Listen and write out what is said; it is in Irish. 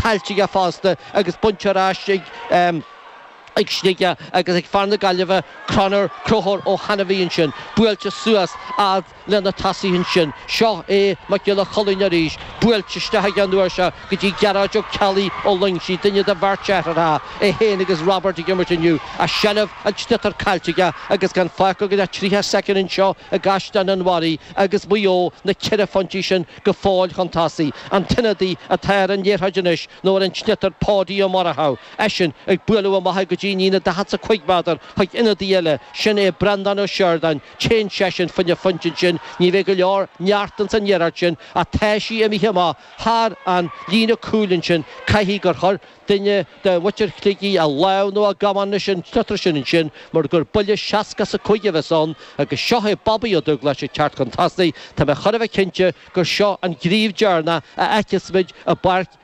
caillte aige fosta agus bainte ar ais ag ag Sligeach agus ag fear na Gaillimhe, Conor, Conchúr Ó hAinmhí ansin, buailte suas fhad le na tosaithe ansin. Seo é Mac Giolla Chulainn arís, buailte isteach aige an uair seo go dtí Gearóid Ó Ceallaigh ó Loingsigh, duine de bheirt deartháireacha, é féin agus Robert ag imirt inniu, ach seilbh an tsliotair caillte aige agus gan fágtha ach 30 soicind anseo i gCaisleán an Bharraigh agus Maigh Eo na ceithre phointí sin go fóill chun tosaigh. An t-ionadaí atá ar an liathróid anois nó ar an tsliotar Páidí Ó Murchú, eisean ag bualadh amach go dtí an líne 45 méadar chuig ionadaí eile, sin é Breandán Ó Seireadáin, téann seisean fá choinne pointe ansin, ní bheidh go leor neart ins an liathróid sin ach tá sí imithe amach thar an líne cúil ansin, caithfidh gur chuir duine de mhuintir Shligigh a lámh nó a gamán leis an sliotar sin ansin mar gur buille 65 a bheas ann agus seo é Bobby Ó Dubhghlais ag teacht chun tosaigh. Tá mé chóir a bheith cinnte gur seo an gníomh deireanach a fheicfeas muid i bPáirc.